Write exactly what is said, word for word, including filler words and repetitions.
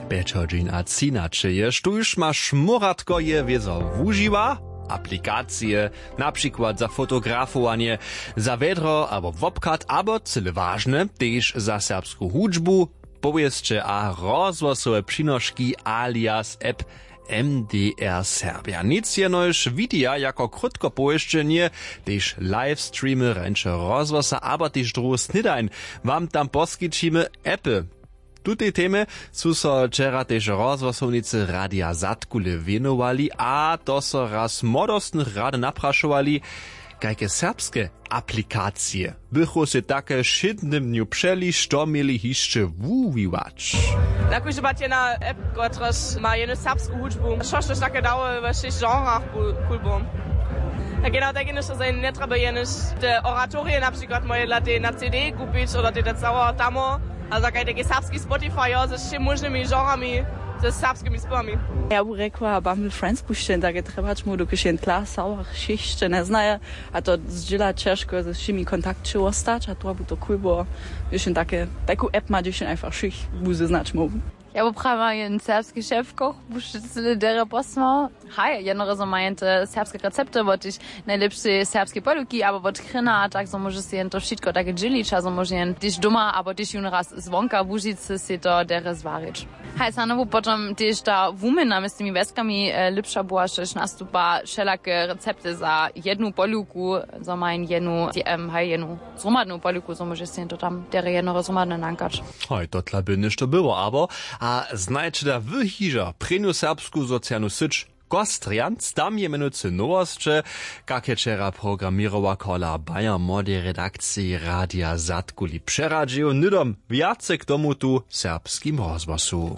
Pjećo dźeń a třinaće je, štóž maš moratko je wězo wužiwa aplikacije, na přikład za fotografowanje, za wjedro abo wobchad, abo cyle wažne tež za serbsku hudźbu, powěsće a rozhłosowe přinoški alias app M D R Serbja. Nic jenož widija jako krótko powěsćenje, tež livestreamy rjeńšeho rozhłosa abo tež druhu snědań wam tam poskićimy. Appy tutej temje su so wčera tež rozhłosownicy Radija Zadkule wěnowali a to so raz młodostnych rady naprašowali, kajke serbske aplikacije bychu sej take w wšědnym dnju přeli, što měli hišće wuwiwać. Na kóždy pad jedna app, kotrež ma jenu serbsku hudźbu, što štož take dało we wšěch genrach cool było. Tak jedna tak jenož to njetrjeba jenož te oratorije na přikład moje dla tej na C D kupić oder tej te całe tamo, a za kaj taki serbski Spotify jo, ze wšěmi móžnymi genrami, ze serbskimi spěwami. Ja bu rjekła Bumble Friends pušćen, tak je trjebać mu dokelž jen tla sałach hišće njeznaje, a to zdźěla ćežko ze wšěmi kontakće wostać, a to bu to cool było, hdyž jen take taku app ma, hdyž jen einfach wšěch bu zeznać móhł. Ja bu prawa jen serbski šefkoch, bu wšitcy derje posłał. Haj, jednorazo majen te serbske recepty wot tež najlěpšej serbskej poluki abo wot chrina, tak zo móže sej jen to wšitko take dźělić a zo móže jen tež doma abo tež jón raz zwonka łužicy sej to derje zwarić. Haj, snano bu potom tež ta wuměna mjez tymi wjeskami lěpša była, štož nastupa wšelake recepty za jednu poluku, zo ma jen jednu, haj, jednu zhromadnu poluku, zo móže sej to tam derje jednoho zhromadne nankać. Hoj, to tla by něšto było abo. A znajće da wy hižo prěnju serbsku socialnu syć Kostrjanc? Tam je mjenujcy nowosće, kak je wčera programěrowa kola Bayern młodej redakciji Radija Zadkuli přeradźił, hnydom wjace k tomu tu w serbskim rozhłosu.